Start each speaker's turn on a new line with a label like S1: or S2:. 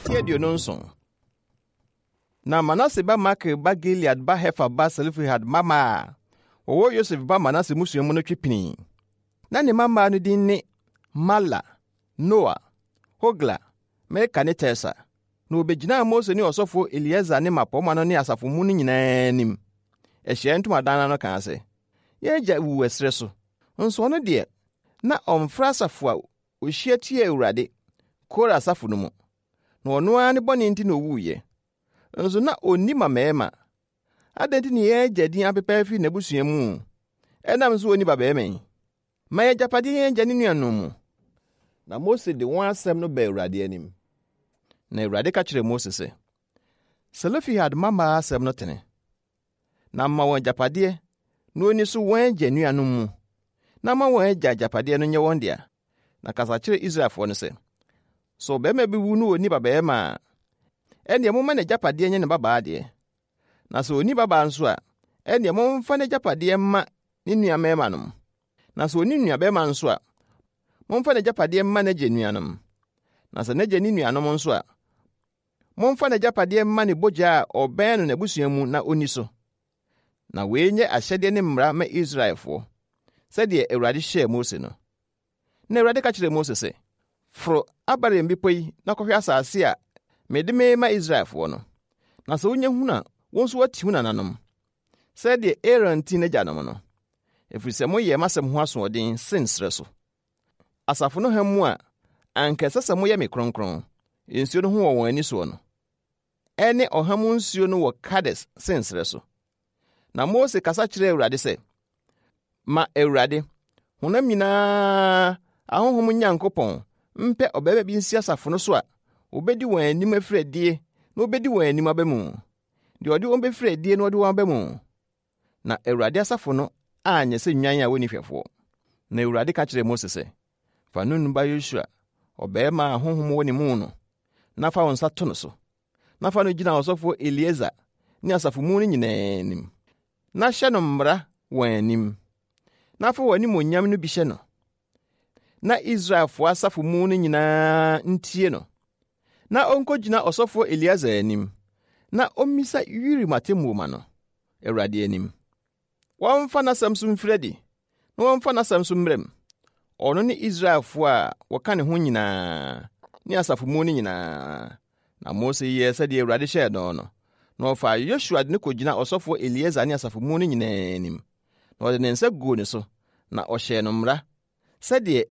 S1: 27 Na Manase ba Makir ba Gilead ba Hefer ba Selofehad mmammaa a wɔwɔ Yosef ba Manase mmusua mu no twe pinii. Na ne mmammaa no din ne Mahla, Noa, Hogla, Milka ne Tirsa. Na wobegyinaa Mose ne ɔsɔfo Eleasar ne mmapɔmma no ne asafo mu no nyinaa anim, ahyiae ntomadan no ano kaa sɛ, Yɛn agya wuu ɛserɛ so, nso ɔno deɛ, na ɔmfra asafo a ohyia tiaa Awurade, Kora asafo no mu. Na ɔno ara ne bɔne nti na owuiɛ. Nso na onni mmammarima. Adɛn nti na yɛn agya din apepa afi n'abusua mu ɛnam sɛ onni babarima yi? Ma yɛn agyapadeɛ yɛn agya ne nuanom mu. Na Mose de wɔn asɛm no baa Awurade anim. Na Awurade ka kyerɛɛ Mose sɛ, Selofehad mmammaa asɛm no tene. Na ma wɔn agyapadeɛ na wɔnni so wɔn agya nuanom mu, na ma wɔn agya agyapadeɛ no nyɛ wɔn dea. Na kasa kyerɛ Israelfoɔ no sɛ, Sɛ ɔbarima bi wu na ɔnni babarima a, ɛnneɛ momma n'agyapadeɛ nyɛ ne babaa deɛ. Na sɛ ɔnni babaa nso a, ɛnneɛ momfa n'agyapadeɛ mma ne nuammarimanom. Na sɛ ɔnni nuabarima nso a, momfa n'agyapadeɛ mma n'agya nuanom. Na sɛ n'agya nni nuanom nso a, Momfa n'agyapadeɛ mma ne bogya a ɔbɛn no n'abusua mu na ɔnni so. Na wei nyɛ ahyɛdeɛ ne mmara ma Israelfoɔ, sɛdeɛ Awurade hyɛɛ Mose no. Na Awurade ka kyerɛɛ Mose sɛ, Foro Abarim bepɔ yi na kɔhwɛ asase a mede merema Israelfoɔ no. Na sɛ wonya hunu a, wo nso woati wo nananom, sɛdeɛ Aaron tii n'agyanom no, ɛfiri sɛ moyɛɛ m'asɛm ho asoɔden Sin serɛ so. Asafo no ha mu a anka ɛsɛ sɛ moyɛ me kronkron, nsuo no ho wɔ wɔn ani soɔ no, ɛne ɔha mu nsuo no wɔ Kades Sin serɛ so. Na Mose kasa kyerɛɛ Awurade sɛ, Ma Awurade, honam nyinaa ahonhom Nyankopɔn, mpɛ ɔbarima bi nsi asafo no so a obedi wɔn anim afiri adie na obedi wɔn anim aba mu, deɛ ɔde wɔn bɛfiri adie na ɔde wɔn aba mu. Na Awurade asafo no anyɛ sɛ nnwan a wonni hwɛfoɔ. Na Awurade ka kyerɛɛ Mose sɛ, Fa Nun ba Yosua, ɔbarima a honhom wɔ ne mu no, na fa wo nsa to no so, na fa no gyina ɔsɔfoɔ Eleasar ne asafo mu no nyinaa anim, na hyɛ no mmara wɔn anim, na fa w'animuonyam no bi hyɛ no, na Israelfoɔ asafo mu no nyinaa ntie no, na ɔnkɔgyina ɔsɔfoɔ Eleasar anim, na ɔmmisa Urim atemmuo ma no, Awurade anim. Wɔmfa n'asɛm so mfiri adi, na wɔmfa n'asɛm so mmra mu, ɔno ne Israelfoɔ a wɔka ne ho nyinaa ne asafo mu no nyinaa. Na Mose yɛɛ sɛdeɛ Awurade hyɛɛ no no, na ɔfaa Yosua de no kɔgyinaa ɔsɔfoɔ Eleasar ne asafo mu no nyinaa anim, na ɔde ne nsa guu ne so, na ɔhyɛɛ no mmara, sɛdeɛ.